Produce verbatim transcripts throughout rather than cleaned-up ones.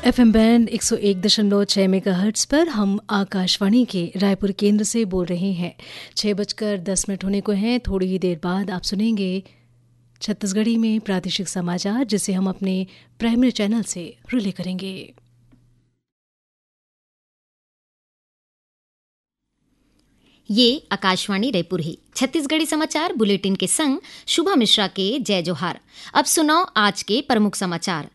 FM band एक सौ एक दशमलव छह मेगाहर्ट्ज पर हम आकाशवाणी के रायपुर केंद्र से बोल रहे हैं। छह बजकर दस मिनट होने को हैं। थोड़ी ही देर बाद आप सुनेंगे छत्तीसगढ़ी में प्रादेशिक समाचार, जिसे हम अपने प्राइमरी चैनल से रिले करेंगे। ये आकाशवाणी रायपुर हे। छत्तीसगढ़ी समाचार बुलेटिन के संग शुभा मिश्रा के जय जोहार। अब सुनव आज के प्रमुख समाचार।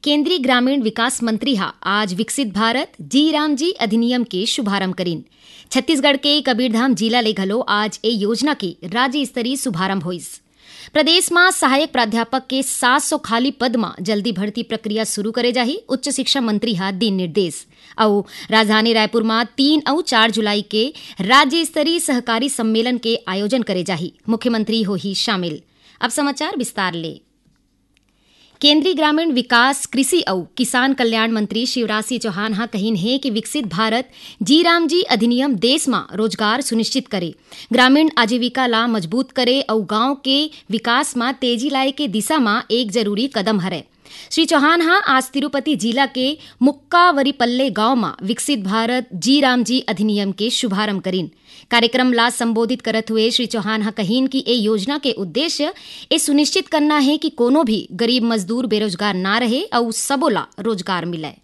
केंद्रीय ग्रामीण विकास मंत्री हा आज विकसित भारत जी राम जी अधिनियम के शुभारंभ करिन। छत्तीसगढ़ के कबीरधाम जिला ले घलो आज ए योजना के राज्य स्तरीय शुभारंभ होइस। प्रदेश म सहायक प्राध्यापक के सात सौ खाली पद म जल्दी भर्ती प्रक्रिया शुरू करे जाही, उच्च शिक्षा मंत्री ह दीन निर्देश। अउ राजधानी रायपुर म तीन अउ चार जुलाई के राज्य स्तरीय सहकारी सम्मेलन के आयोजन करे जाही, मुख्यमंत्री होही शामिल। अब समाचार विस्तार ले। केंद्रीय ग्रामीण विकास, कृषि अउ किसान कल्याण मंत्री शिवराज सिंह चौहान ह कहिन हे कि विकसित भारत जी राम जी अधिनियम देश म रोजगार सुनिश्चित करे, ग्रामीण आजीविका ला मजबूत करे अउ गांव के विकास म तेजी लाए के दिशा म एक जरूरी कदम हरय। श्री चौहान ह आज तिरुपति जिला के मुक्कावरीपल्ले गांव म विकसित भारत जी राम जी अधिनियम के शुभारंभ करिन। कार्यक्रम ला संबोधित करत हुए श्री चौहान ह कहिन कि ए योजना के उद्देश्य ए सुनिश्चित करना हे कि कोनो भी गरीब मजदूर बेरोजगार ना रहे अउ सबो ला रोजगार मिलय।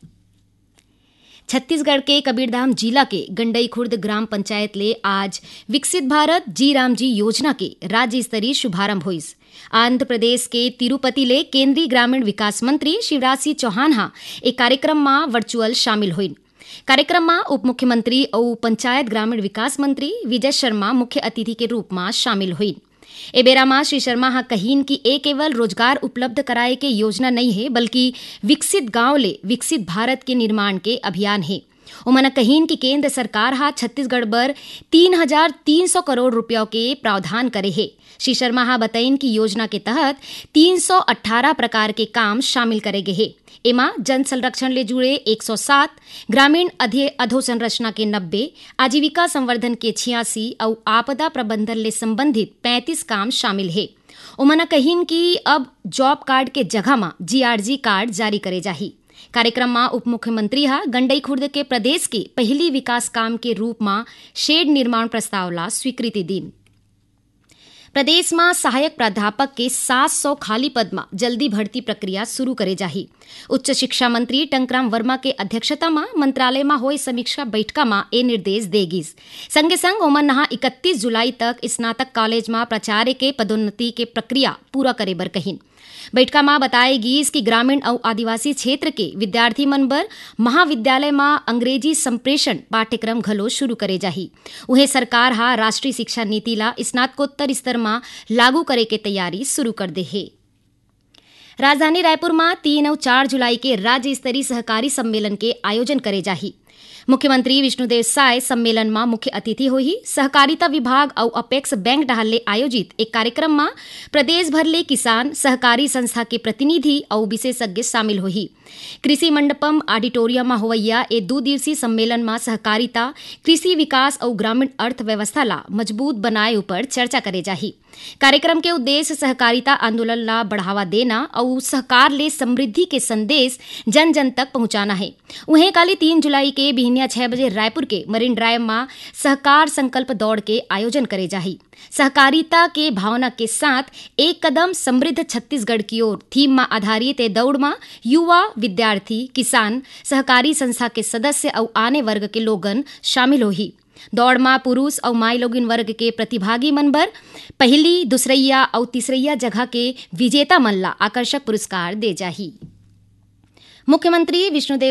छत्तीसगढ़ के कबीरधाम जिला के गंडई खुर्द ग्राम पंचायत ले आज विकसित भारत जी राम जी योजना के राज्य स्तरीय शुभारंभ होइस। आंध्र प्रदेश के तिरुपति ले केंद्रीय ग्रामीण विकास मंत्री शिवराज सिंह चौहान ह ए कार्यक्रम म वर्चुअल शामिल होइन। कार्यक्रम म उप मुख्यमंत्री अउ पंचायत ग्रामीण विकास मंत्री विजय शर्मा मुख्य अतिथि के रूप म शामिल होइन। ए बेरा म श्री शर्मा ह कहिन कि ए केवल रोजगार उपलब्ध कराए के योजना नइ हे, बल्कि विकसित गांव ले विकसित भारत के निर्माण के अभियान हे। ओमन ह कहिन कि केंद्र सरकार ह छत्तीसगढ़ बर तीन हजार तीन सौ करोड़ रुपया के प्रावधान करे हे। श्री शर्मा ह बतइन कि योजना के तहत तीन सौ अट्ठारह प्रकार के काम शामिल करे गे हे। एमा जल संरक्षण ले जुड़े एक सौ सात, ग्रामीण अधि-, अधोसंरचना के नब्बे, आजीविका संवर्धन के छियासी अउ आपदा प्रबंधन ले संबंधित पैंतीस काम शामिल हे। ओमन ह कहिन कि अब जॉब कार्ड के जगह म जीआरजी कार्ड जारी करे जाही। कार्यक्रम म उप मुख्यमंत्री ह गंडई खुर्द के प्रदेश के पहिली विकास काम के रूप म शेड निर्माण प्रस्ताव ला स्वीकृति दीन। प्रदेश म सहायक प्राध्यापक के सात सौ खाली पद म जल्दी भर्ती प्रक्रिया शुरू करे जाही। उच्च शिक्षा मंत्री टंकराम वर्मा के अध्यक्षता म मंत्रालय म होए समीक्षा बैठका म ए निर्देश दे गिस। संगे संग ओमन ह इकतीस जुलाई तक स्नातक कॉलेज म प्राचार्य के पदोन्नति के प्रक्रिया पूरा करे बर कहिन। बैठका म बताए गिस कि ग्रामीण अउ आदिवासी क्षेत्र के विद्यार्थी मन बर महाविद्यालय म अंग्रेजी संप्रेषण पाठ्यक्रम घलो शुरू करे जाही। उहें, सरकार ह राष्ट्रीय शिक्षा नीति ला स्नातकोत्तर स्तर म लागू करे के तैयारी शुरू कर दे हे। राजधानी रायपुर म तीन अउ चार जुलाई के राज्य स्तरीय सहकारी सम्मेलन के आयोजन करे जाही। मुख्यमंत्री विष्णुदेव साय सम्मेलन म मुख्य अतिथि होही। सहकारिता विभाग अउ अपेक्स बैंक डहार ले आयोजित एक कार्यक्रम म प्रदेश भर ले किसान, सहकारी संस्था के प्रतिनिधि अउ विशेषज्ञ शामिल होही। कृषि मंडपम ऑडिटोरियम म होवइया ए दू दिवसीय सम्मेलन म सहकारिता, कृषि विकास अउ ग्रामीण अर्थव्यवस्था ला मजबूत बनाए उपर चर्चा करे जाही। कार्यक्रम के उद्देश्य सहकारिता आंदोलन ला बढ़ावा देना अउ सहकार ले समृद्धि के संदेश जन जन तक पहुंचाना हे। उहें, काली तीन जुलाई के बिहनिया छह बजे रायपुर के मरीन ड्राइव म सहकार संकल्प दौड़ के आयोजन करे जाही। सहकारिता के भावना के साथ एक कदम समृद्ध छत्तीसगढ़ की ओर थीम म आधारित ए दौड़ म युवा, विद्यार्थी, किसान, सहकारी संस्था के सदस्य अउ आने वर्ग के लोगन शामिल होही। दौड़ म पुरुष अउ माईलोगिन वर्ग के प्रतिभागी मन बर पहिली, दूसरइया अउ तीसरइया जगह के विजेता मन ला आकर्षक पुरस्कार दे जाही। मुख्यमंत्री विष्णुदेव